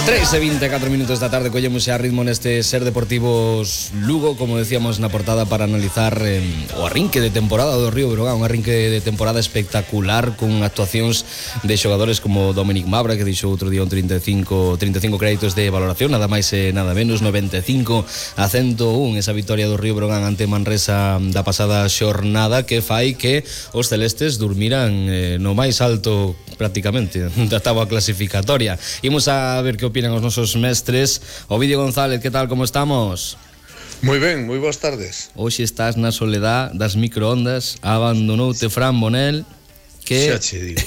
3:24 minutos da tarde, collemos xa ritmo neste Ser Deportivos Lugo, como decíamos na portada, para analizar o arrinque de temporada do Río Breogán, un arrinque de temporada espectacular con actuacións de xogadores como Dominic Mabra, que dixo outro día un 35 créditos de valoración, nada máis e nada menos, 95-101, esa victoria do Río Breogán ante Manresa da pasada xornada, que fai que os celestes durmiran no máis alto prácticamente da táboa clasificatoria. Imos a ver que opinan os nosos mestres. Ovidio González, que tal, como estamos? Moi ben, moi boas tardes. Hoxe estás na soledad das microondas, abandonoute Fran Bonel, que xa che digo.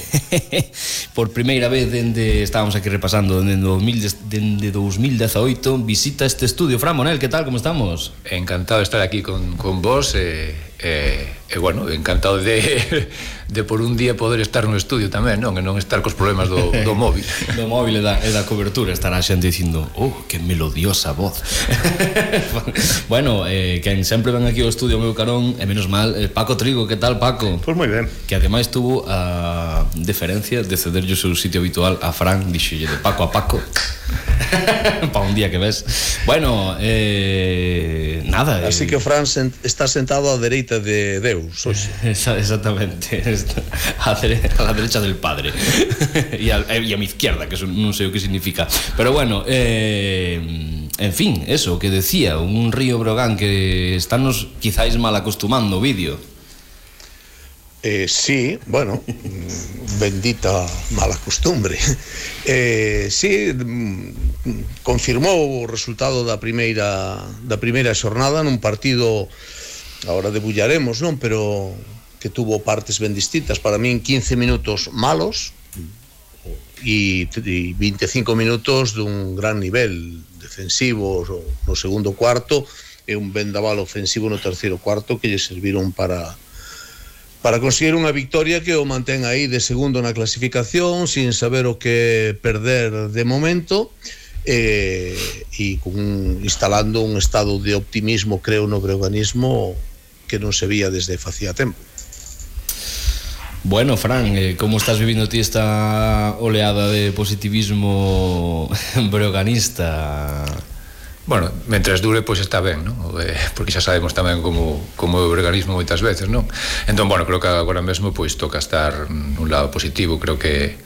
por primeira vez dende, estábamos aquí repasando, dende 2018 visita este estudio. Fran Bonel, que tal, como estamos? Encantado de estar aquí con vos, bueno, encantado de por un día poder estar no estudio tamén, non? E non estar cos problemas do móvil. Do móvil e da cobertura. Estará a xente dicindo, que melodiosa voz. Bueno, quen sempre ven aquí ao estudio, meu carón, e menos mal, Paco Trigo. Que tal, Paco? Pois moi ben. Que ademais tuvo a deferencia de cederlle o seu sitio habitual a Fran, dixolle de Paco a Paco. Pa un día que ves. Bueno, nada. Así que Fran está sentado á dereita de Deus hoxe. Exactamente. A la derecha del padre. Y a mi izquierda, que eso non sei o que significa. Pero bueno, en fin, eso que decía, un Río Breogán que estános quizáis mal acostumando o vídeo. Sí, bueno, bendita mala costumbre. Sí, confirmou o resultado da primeira xornada nun partido, agora debullaremos, non? Pero que tuvo partes ben distintas. Para min 15 minutos malos e 25 minutos dun gran nivel defensivo no segundo cuarto e un vendaval ofensivo no terceiro cuarto que lle serviron para conseguir unha victoria que o mantén aí de segundo na clasificación, sin saber o que perder de momento, e instalando un estado de optimismo, creo, no breoganismo que non se vía desde facía tempo. Bueno, Fran, como estás vivindo ti esta oleada de positivismo breoganista? Bueno, mentres dure, pois está ben, non? Porque xa sabemos tamén como é o breoganismo moitas veces, non? Entón, bueno, creo que agora mesmo pois toca estar nun lado positivo. Creo que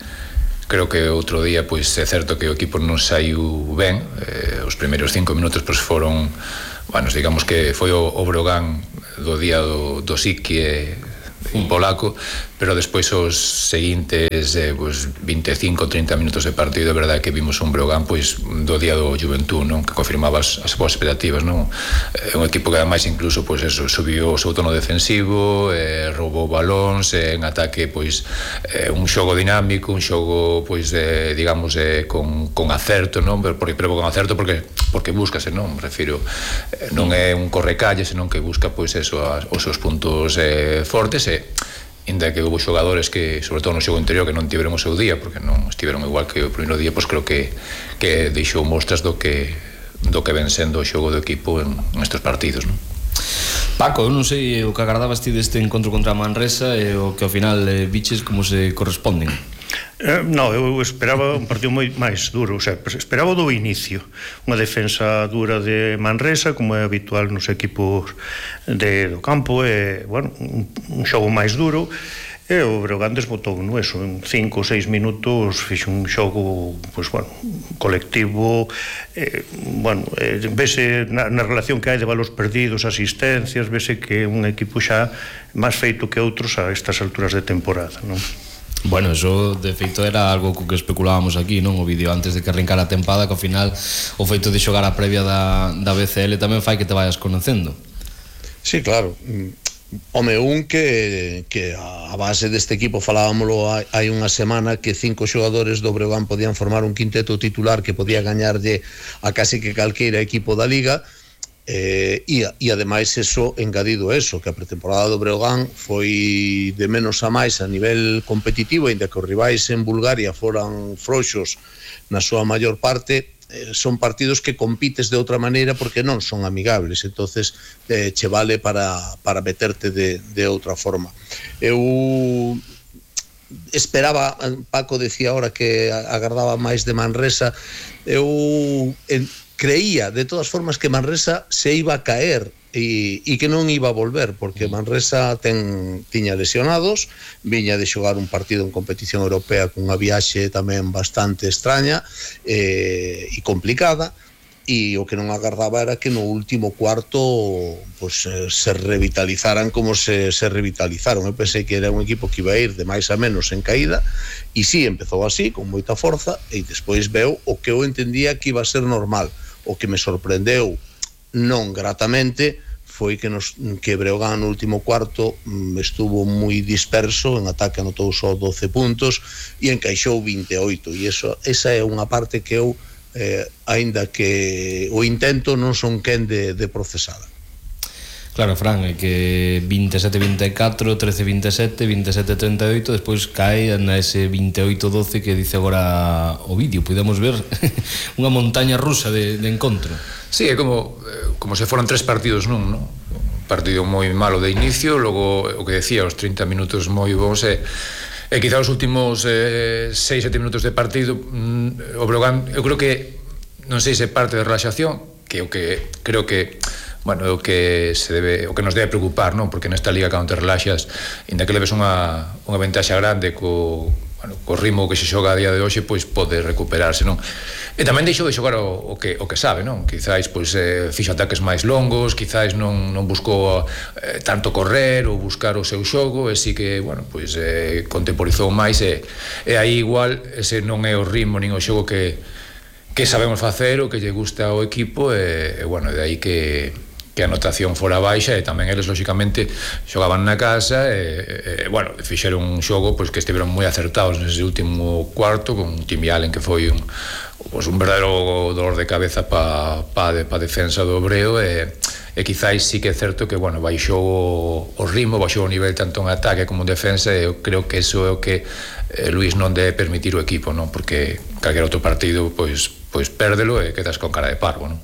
outro día pois é certo que o equipo non saiu ben. Os primeiros 5 minutos pois foron, bueno, digamos que foi o Breogán do día do Siki un polaco, pero despois os seguintes pues 25-30 minutos de partido, de verdade que vimos un Breogán pois do día do Juventud, non? Que confirmaba as súas expectativas, non? Un equipo que ademais incluso pois eso, subiu o seu tono defensivo, roubou balóns, en ataque pois un xogo dinámico, un xogo pois digamos con acerto, non? Pero con acerto porque búscase, non? Me refiro, non é un correcalle, senón que busca pois eso, os seus puntos fortes, inda que houve xogadores que, sobre todo no xogo interior, que non tiveron o seu día, porque non estiveron igual que o primeiro día, pois creo que deixou mostras do que ven sendo o xogo do equipo en estes partidos, non? Paco, eu non sei o que agardabas ti deste encontro contra a Manresa e o que ao final viches como se corresponden. Non, eu esperaba un partido moi máis duro, o sea, esperaba do inicio unha defensa dura de Manresa, como é habitual nos equipos do campo, e, bueno, un xogo máis duro, e o Breogán desbotou no eso, en 5 ou 6 minutos fixe un xogo, pois, bueno, colectivo, bueno, vese na relación que hai de valores perdidos, asistencias, vese que é un equipo xa máis feito que outros a estas alturas de temporada, non? Bueno, eso de feito era algo co que especulábamos aquí, non? O vídeo antes de que arrancara a tempada, que ao final o feito de xogar a previa da BCL tamén fai que te vayas conocendo. Sí, claro. Home, que a base deste equipo falábamolo hai unha semana, que 5 xogadores do Breogán podían formar un quinteto titular que podía gañarlle a casi que calqueira equipo da Liga. E ademais eso, engadido eso, que a pretemporada do Breogán foi de menos a máis a nivel competitivo, ainda que os rivais en Bulgaria foran frouxos na súa maior parte, son partidos que compites de outra maneira porque non son amigables, entonces che vale para meterte de outra forma. Eu esperaba, Paco decía ahora que agardaba máis de Manresa, eu creía de todas formas que Manresa se iba a caer e que non iba a volver, porque Manresa tiña lesionados, viña de xogar un partido en competición europea cunha viaxe tamén bastante extraña e complicada, e o que non agardaba era que no último cuarto pues, se revitalizaran como se revitalizaron. Eu pensei que era un equipo que iba a ir de máis a menos en caída, e sí, empezou así, con moita forza, e despois veu o que eu entendía que iba a ser normal. O que me sorprendeu non gratamente foi que Breogán no último cuarto estuvo moi disperso, en ataque anotou só 12 puntos e encaixou 28, e esa é unha parte que eu aínda que o intento non son quen de procesada. Claro, Fran, é que 27-24, 13-27, 27-38, despois cae na ese 28-12 que dice agora o vídeo. Podemos ver unha montaña rusa de encontro. Sí, é como se foran 3 partidos nun, non? Un partido moi malo de inicio, logo o que decía, os 30 minutos moi bons e quizá os últimos 6-7 minutos de partido o Breogán, eu creo que non sei se parte de relaxación, que o que creo que bueno, o que nos debe preocupar, non? Porque nesta liga cando te relaxas, inda que leves unha ventaxa grande co ritmo que se xoga a día de hoxe, pois pode recuperarse, non? E tamén deixou de xogar o que sabe, non? Quizáis pois fixo ataques máis longos, quizáis non buscou tanto correr ou buscar o seu xogo, e si que, bueno, pois contemporizou máis e aí igual ese non é o ritmo nin o xogo que sabemos facer, o que lle gusta ao equipo, e bueno, de aí que a anotación fora baixa, e tamén eles lóxicamente xogaban na casa e bueno, fixeron un xogo pois que estiveron moi acertados nese último cuarto, con Timmy Allen que foi un verdadeiro dolor de cabeza pa defensa do Breo, e quizáis sí que é certo que, bueno, baixou o ritmo, baixou o nivel tanto en ataque como en defensa, e eu creo que eso é o que Luís non debe permitir o equipo, non? Porque calquer outro partido pois pérdelo e quedas con cara de parvo, non?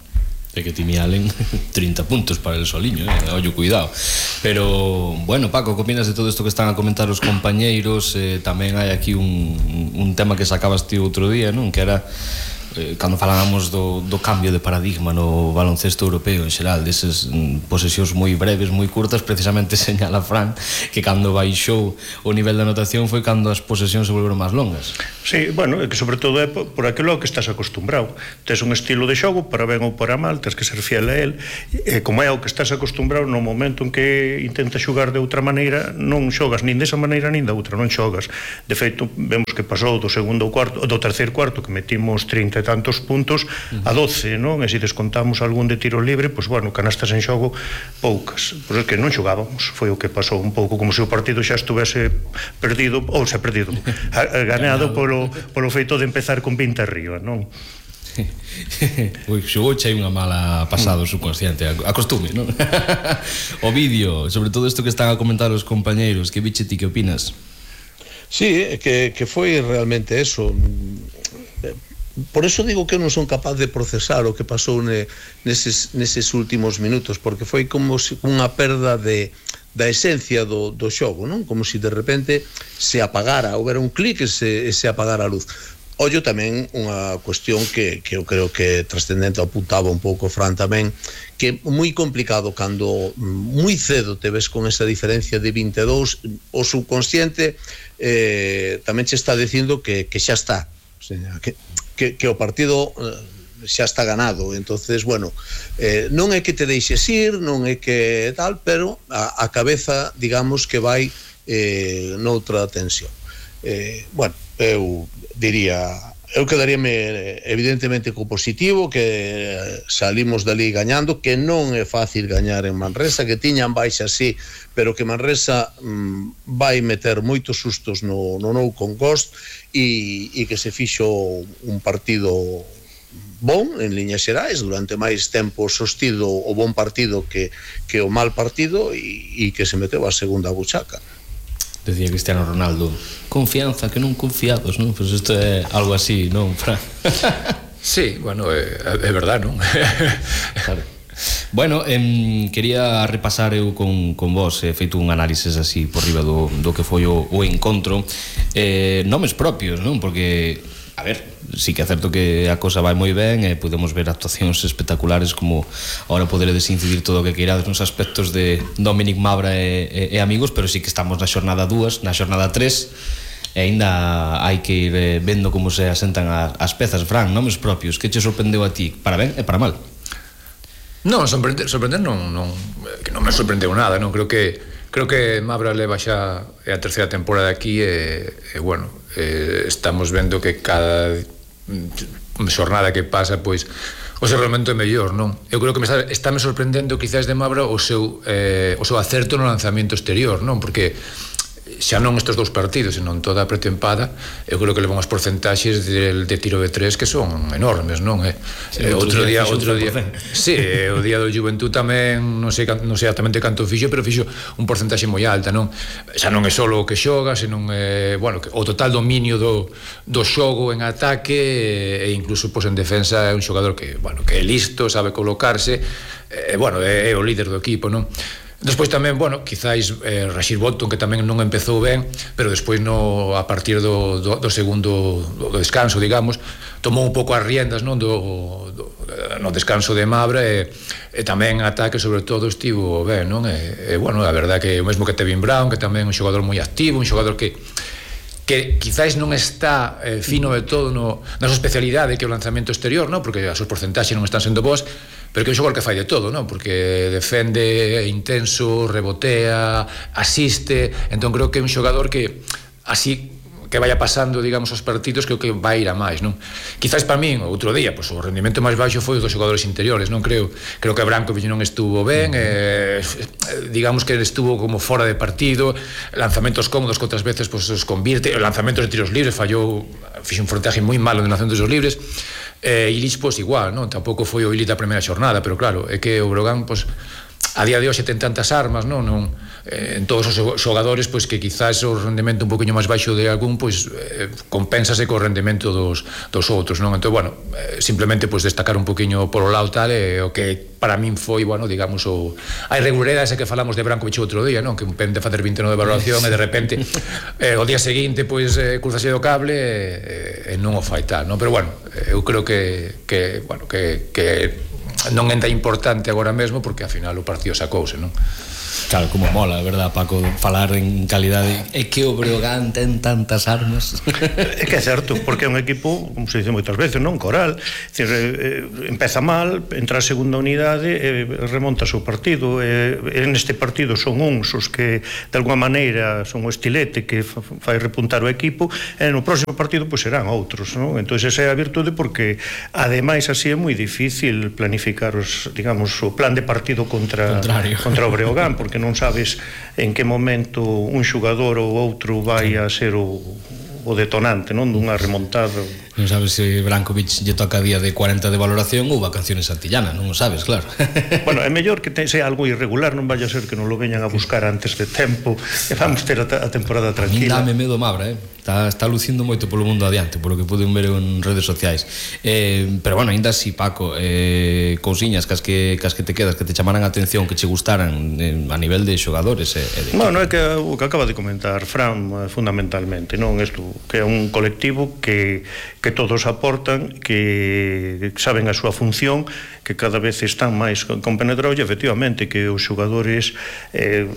É que Timmy Allen 30 puntos para el soliño, ollo, cuidado. Pero, bueno, Paco, que opinas de todo isto que están a comentar os compañeiros? Tamén hai aquí un tema que sacabas ti outro día, non? Que era cando falábamos do cambio de paradigma no baloncesto europeo en xeral, deses posesións moi breves, moi curtas. Precisamente señala Fran que cando baixou o nivel de anotación foi cando as posesións se volveron máis longas. Sí, bueno, é que sobre todo é por aquilo que estás acostumbrado. Tes un estilo de xogo, para ben ou para mal, tens que ser fiel a él, e como é o que estás acostumbrado, no momento en que intentas xogar de outra maneira, non xogas nin desa maneira nin da outra, non xogas. De feito, vemos que pasou do terceiro cuarto, que metimos 30 e tantos puntos a 12, non? E se descontamos algún de tiro libre, pois bueno, canastas en xogo poucas. Pois é que non xogábamos, foi o que pasou un pouco como se o partido xa estuvese perdido, ou xa perdido, ganado polo feito de empezar con 20 arriba, non? Ui, xogou xa unha mala pasada o subconsciente, acostume, non? O vídeo, sobre todo isto que están a comentar os compañeiros, que biche ti, que opinas? Sí, que foi realmente eso. Por eso digo que non son capaz de procesar o que pasou neses últimos minutos, porque foi como unha perda da esencia do xogo, non? Como se de repente se apagara, houbera un clic e se apagara a luz. Ollo tamén unha cuestión que eu creo que trascendente, apuntaba un pouco Fran tamén, que é moi complicado cando moi cedo te ves con esa diferencia de 22, o subconsciente tamén che está dicindo que xa está, o sea, que o partido xa está ganado. Entonces, bueno, non é que te deixes ir, non é que tal, pero a cabeza, digamos, que vai noutra tensión. Bueno, eu quedaríame evidentemente co positivo, que salimos dali gañando, que non é fácil gañar en Manresa, que tiñan baixa sí, pero que Manresa vai meter moitos sustos no Nou Congost, e que se fixo un partido bon en liñas xerais, durante máis tempo sostido o bon partido que o mal partido, e que se meteu a segunda buchaca. Decía Cristiano Ronaldo, confianza que non confiados, non? Pois isto é algo así, non, Fran? Sí, bueno, é verdad, non? Claro. Bueno, quería repasar eu con vos, feito un análisis así por riba do que foi o encontro, nomes propios, non? Porque, a ver, sí que é certo que a cosa vai moi ben e podemos ver actuacións espectaculares, como ahora poderedes incidir todo o que queirades nos aspectos de Dominic Mabra e amigos, pero sí que estamos na xornada 2, na xornada 3, e ainda hai que ir vendo como se asentan as pezas. Fran, nomes propios, que che sorprendeu a ti, para ben e para mal? Non, sorprender non que non me sorprendeu nada, non creo que Mabra leva xa a terceira temporada aquí e bueno, estamos vendo que cada xornada que pasa, pois o seu rendemento é mellor, non? Eu creo que está me sorprendendo quizás de Mabra o seu acerto no lanzamento exterior, non? Porque xa non estes dous partidos, senón toda a pretempada, eu creo que levan as porcentaxes de tiro de tres que son enormes, non? Outro día sí, o día do Juventud tamén non sei exactamente canto fixo, pero fixo un porcentaxe moi alta, non? Xa non é só o que xoga, senón bueno, o total dominio do xogo en ataque e incluso en defensa é un xogador que, bueno, que é listo, sabe colocarse, bueno, é o líder do equipo, non? Despois tamén, bueno, quizáis Rashid Bolton, que tamén non empezou ben, pero despois a partir do segundo do descanso, digamos, tomou un pouco as riendas, non, no descanso de Mabra e tamén ataque, sobre todo, estivo ben, non? E bueno, a verdade que o mesmo que Tevin Brown, que tamén é un xogador moi activo, un xogador que quizáis non está fino de todo na súa especialidade, que é o lanzamento exterior, non? Porque as súas porcentaxes non están sendo boas, pero que é un xogador que fai de todo, non? Porque defende, é intenso, rebotea, asiste, entón creo que é un xogador que así que vaya pasando, digamos, os partidos, creo que vai ir a máis, non? Quizás para min, outro día, pois o rendimento máis baixo foi o dos xogadores interiores, non? Creo que Brankovic non estuvo ben, digamos que estuvo como fora de partido, lanzamentos cómodos que outras veces pois os convirte, lanzamentos de tiros libres, fixe un frontaje moi malo de lanzamentos de tiros libres, Illich, pois igual, non? Tampouco foi o Illich da primeira xornada, pero claro, é que o Breogán, pois a día de hoxe ten tantas armas, non? En todos os xogadores, pois que quizás o rendemento un poquinho máis baixo de algún, pois compénsase co rendemento dos outros, non? Entón, bueno, simplemente pois destacar un poquinho por o lado tal, o que para min foi, bueno, digamos, a irregularidade esa que falamos de Brankovic outro día, non? Que un pen de facer 29 de valoración e de repente o día seguinte, pois cruzase do cable e non o fai tal, non? Pero bueno, eu creo que non é tan importante agora mesmo, porque ao final o partido sacouse, non? Claro, como mola, verdad, Paco, falar en calidade. É que o Breogán ten tantas armas. É que é certo, porque é un equipo, como se dice moitas veces, non? Coral, empeza mal, entra a segunda unidade e remonta o seu partido. En este partido son uns os que de alguma maneira son o estilete que fai repuntar o equipo, e no próximo partido pois serán outros, non? Entón esa é a virtude, porque ademais así é moi difícil planificar digamos, o plan de partido contra o Breogán, porque non sabes en que momento un xogador ou outro vai a ser o detonante, non? Dunha remontada. Non sabes se Brankovic lle toca día de 40 de valoración ou vacaciones antillana, non o sabes, claro. Bueno, é mellor que sea algo irregular, non vaya a ser que non lo veñan a buscar antes de tempo e vamos ter a temporada tranquila. A mí dame medo Mabra, está lucindo moito polo mundo adiante, polo que poden ver en redes sociais. Pero bueno, ainda así, Paco, cousiñas cas que te quedas, que te chamaran a atención, que che gustaran a nivel de xogadores. Bueno, é que o que acaba de comentar Fran, fundamentalmente, non? Isto que é un colectivo que todos aportan, que saben a súa función, que cada vez están máis compenetrados, e efectivamente que os xogadores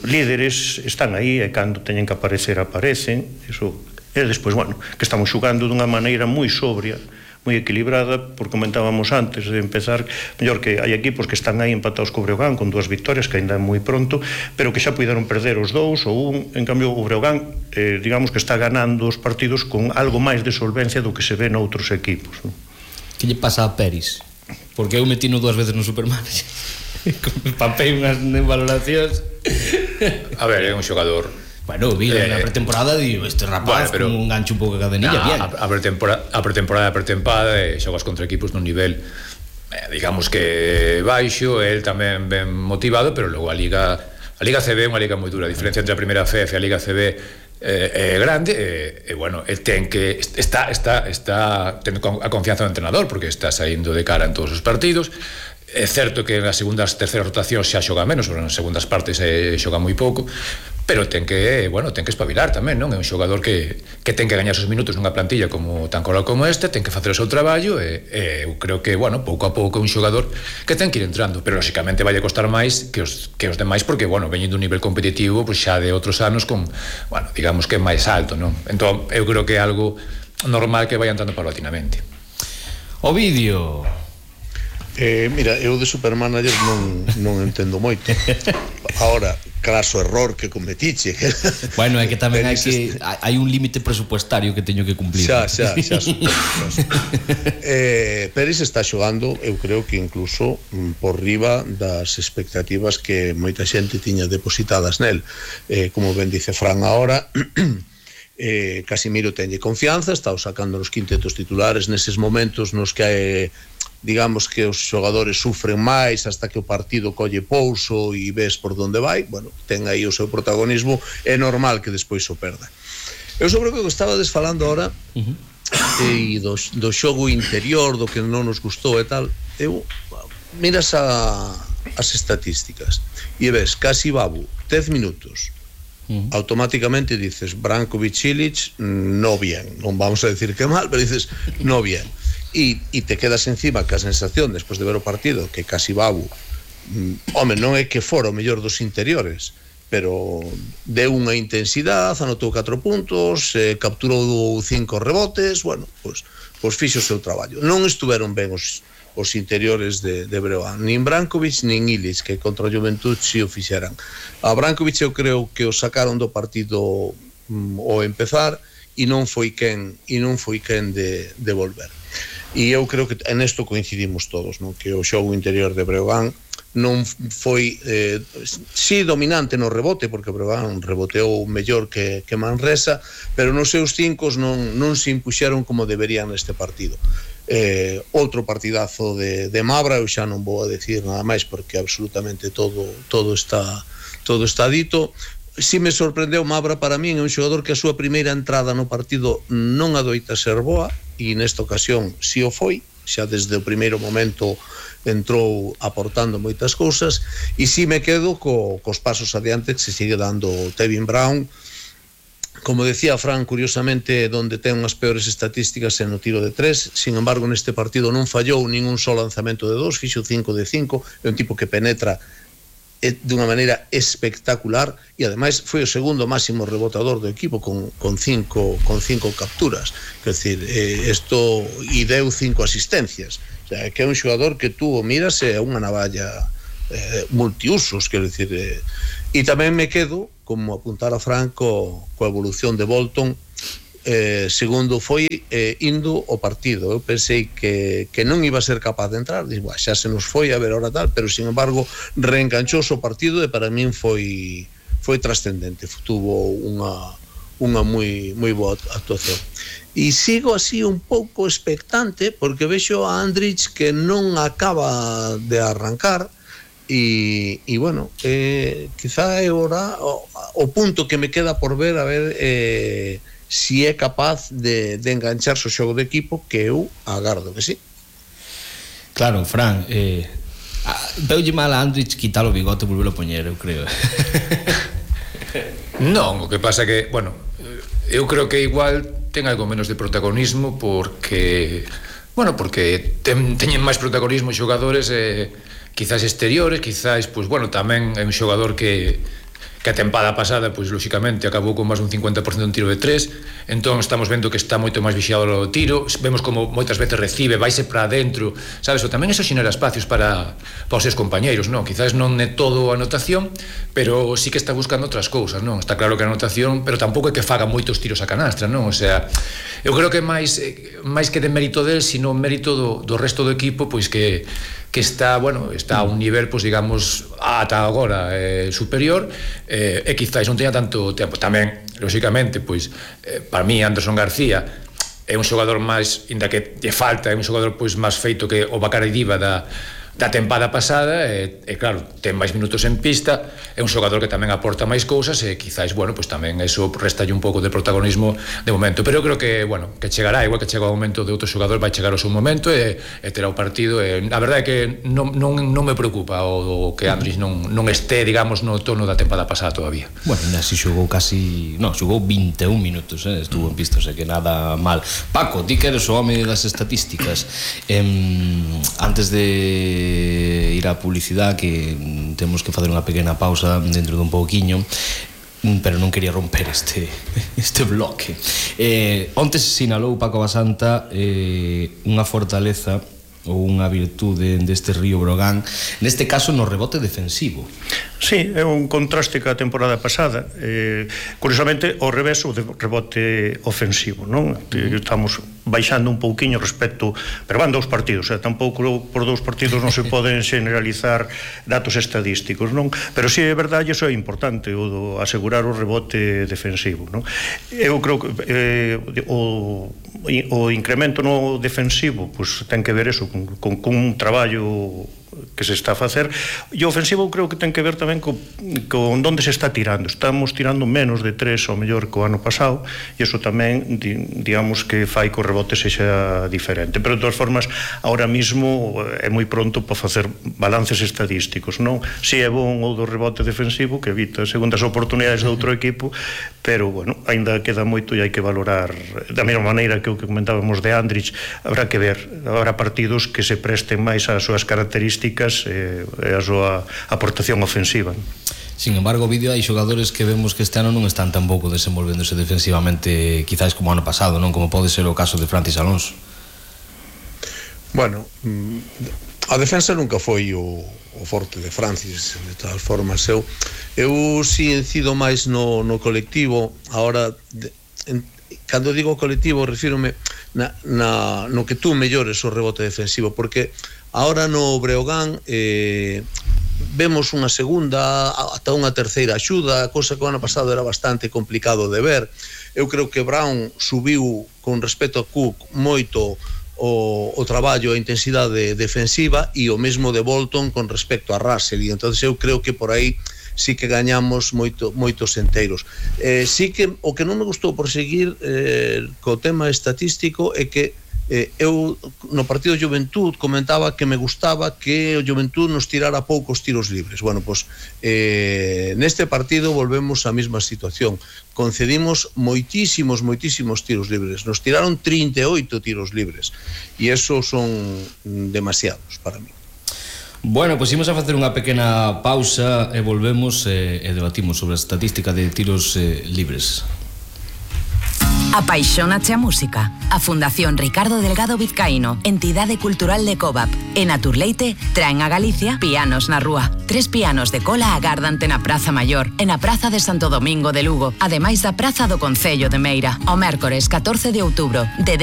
líderes están aí, e cando teñen que aparecer aparecen. Iso. E despois, bueno, que estamos xogando dunha maneira moi sobria, moi equilibrada, porque comentábamos antes de empezar, mellor que hai equipos que están aí empatados co Breogán con 2 victorias, que ainda é moi pronto, pero que xa puideron perder os 2 ou un. En cambio o Breogán, digamos que está ganando os partidos con algo máis de solvencia do que se ve noutros equipos, non? Que lle pasa a Peris? Porque eu metino 2 veces no Supermanager, papei unhas valoracións. A ver, é un xogador. Bueno, vi na pretemporada, digo, este rapaz con un gancho un pouco de cadenilla, bien. A pretemporada e xogas contra equipos nun nivel, digamos que baixo, el tamén ben motivado, pero logo a Liga CB é unha liga moi dura. A diferencia entre a primeira FF e a Liga CB é grande, e bueno, el ten que está tendo a confianza do entrenador, porque está saindo de cara en todos os partidos. É certo que nas segundas, terceiras rotacións xa xoga menos, pero nas segundas partes xoga moi pouco, pero ten que espabilar tamén, non? É un xogador que ten que gañar os minutos nunha plantilla como tan coral como este, ten que facer o seu traballo e eu creo que, bueno, pouco a pouco é un xogador que ten que ir entrando, pero lóxicamente vai a costar máis que os demais porque, bueno, veñendo un nivel competitivo pois xa de outros anos con, bueno, digamos que máis alto, non? Entón, eu creo que é algo normal que vai entrando paulatinamente. Ovidio. Mira, eu de Supermanager non entendo moito. Ahora, craso error que cometiche. Bueno, é que tamén hai un límite presupuestario que teño que cumplir. Xa. Pérez está xogando, eu creo que incluso por riba das expectativas que moita xente tiña depositadas nel. Como ben dice Fran ahora, Casimiro tenlle confianza, está sacando nos quintetos titulares neses momentos nos que digamos que os xogadores sufren máis hasta que o partido colle pouso e ves por onde vai, bueno, ten aí o seu protagonismo, é normal que despois o perda. Eu sobre o que estaba desfalando ahora e do xogo interior, do que non nos gustou e tal, eu miras as estatísticas e ves casi Babu 10 minutos, automáticamente dices Brankovic-Ilic no bien, non vamos a decir que mal, pero dices no bien. E te quedas encima que a sensación despois de ver o partido que casi Babu home, non é que fora o mellor dos interiores, pero deu unha intensidade, anotou 4 puntos, capturou 5 rebotes, bueno, pois fixo o seu traballo. Non estuveron ben os interiores de Breogán, nin Brankovic nin Ilic, que contra o Juventud si o fixeran. A Brankovic eu creo que o sacaron do partido ao empezar e non foi quen de volver. E eu creo que nesto coincidimos todos, non? Que o xogo interior de Breogán non foi si dominante no rebote, porque Breogán reboteou mellor que Manresa, pero nos seus cincos non se impuxeron como deberían neste partido. Outro partidazo de Mabra, eu xa non vou a decir nada máis porque absolutamente todo está dito. Si me sorprendeu Mabra, para min é un xogador que a súa primeira entrada no partido non adoita ser boa, e nesta ocasión si o foi, xa desde o primeiro momento entrou aportando moitas cousas, e si me quedo cos pasos adiante que se sigue dando Tevin Brown. Como decía Fran, curiosamente donde ten unhas peores estatísticas é no tiro de 3, sin embargo neste partido non fallou ningún só lanzamento de 2, fixo 5 de 5, é un tipo que penetra de unha maneira espectacular e ademais foi o segundo máximo rebotador do equipo con cinco capturas, quer decir, isto e deu 5 asistencias, o sea, que é un xogador que tú miras é unha navalla multiusos, quer decir, e tamén me quedo, como apuntara Franco, coa evolución de Bolton. Segundo foi indo o partido, eu pensei que non iba a ser capaz de entrar, digo, xa se nos foi a ver ahora tal, pero sin embargo reenganchou o partido e para min foi trascendente, tuvo unha moi boa actuación. E sigo así un pouco expectante porque vexo a Andrich que non acaba de arrancar e bueno, quizá é ora o punto que me queda por ver, a ver si é capaz de engancharse o xogo de equipo, que eu agardo que sí. Claro, Fran, deulle mal a Andrich quitar o bigote e volver a poñer, eu creo. Non, o que pasa que, bueno, eu creo que igual ten algo menos de protagonismo porque teñen máis protagonismo xogadores quizás exteriores, quizás, pois, bueno, tamén é un xogador que a tempada pasada, pois, lóxicamente, acabou con máis dun 50% en tiro de 3, entón estamos vendo que está moito máis vixiado o tiro, vemos como moitas veces recibe, vaise para adentro, sabes, ou tamén eso xenera espacios para os seus compañeiros, non? Quizás non é todo a anotación, pero sí que está buscando outras cousas, non? Está claro que a anotación, pero tampouco é que faga moitos tiros a canastra, non? O sea, eu creo que máis que de mérito del, sino mérito do resto do equipo, pois que está, bueno, está a un nivel, pois, digamos, ata agora superior, e quizáis non teña tanto tempo. Tamén, lóxicamente, pois, para mí, Anderson García é un xogador máis, inda que lle falta, é un xogador, pois, máis feito que o Bacari Diva da tempada pasada e claro, ten máis minutos en pista, é un xogador que tamén aporta máis cousas e quizás, bueno, pues tamén eso restalle un pouco de protagonismo de momento, pero eu creo que, bueno, que chegará, igual que chega o momento de outro xogador, vai chegar o seu momento e terá o partido e a verdade é que non me preocupa o que Andrich non este, digamos, no tono da tempada pasada todavía. Bueno, así xogou xogou 21 minutos, estuvo en pista, o sea que nada mal. Paco, ti que eres o home das estatísticas, antes de ir á publicidade, que temos que facer unha pequena pausa dentro dun pouquiño, pero non quería romper este bloque. Onte sinalou Paco Basanta unha fortaleza ou unha virtude deste Río Breogán, neste caso no rebote defensivo. Sí, é un contraste ca temporada pasada. Curiosamente, ao revés, o rebote ofensivo, non? Estamos baixando un pouquiño respecto, pero van 2 partidos, tampouco por 2 partidos non se poden generalizar datos estadísticos, non? Pero sí, é verdade, iso é importante, o asegurar o rebote defensivo, non? Eu creo que o incremento no defensivo, pois ten que ver eso, con un traballo que se está a facer, e o ofensivo creo que ten que ver tamén con onde se está tirando. Estamos tirando menos de 3 ao mellor que o ano pasado, e iso tamén, digamos, que fai que o rebote sexa diferente. Pero de todas formas, ahora mismo é moi pronto para facer balances estadísticos, non? Si é bon o do rebote defensivo, que evita segundas oportunidades do outro equipo, pero, bueno, ainda queda moito e hai que valorar da mesma maneira que o que comentábamos de Andrich. Habrá que ver, habrá partidos que se presten máis ás súas características e a súa aportación ofensiva. Sin embargo, o vídeo hai xogadores que vemos que este ano non están tampouco desenvolvéndose defensivamente, quizás como ano pasado, non? Como pode ser o caso de Francis Alonso. Bueno, a defensa nunca foi o forte de Francis, de todas formas. Eu si incido máis no colectivo. Ahora, cando digo colectivo, refírome no que tú mellores o rebote defensivo, porque ahora no Breogán vemos unha segunda ata unha terceira axuda, cosa que o ano pasado era bastante complicado de ver. Eu creo que Brown subiu con respecto a Cook moito o traballo, a intensidade defensiva, e o mesmo de Bolton con respecto a Russell, e entonces eu creo que por aí sí que gañamos moitos enteiros. Sí que o que non me gustou por seguir co tema estatístico é que eu no partido de Juventud comentaba que me gustaba que o Juventud nos tirara poucos tiros libres. Bueno, pois neste partido volvemos á mesma situación. Concedimos moitísimos tiros libres. Nos tiraron 38 tiros libres, e esos son demasiados para mí. Bueno, pois imos a facer unha pequena pausa e volvemos e debatimos sobre a estatística de tiros libres. Apaixónache a música. A Fundación Ricardo Delgado Vizcaíno, entidade cultural de Covap, e Naturleite traen a Galicia Pianos na Rúa. 3 pianos de cola agárdante na Praza Maior e na Praza de Santo Domingo de Lugo, ademais da Praza do Concello de Meira. O mércores 14 de outubro, de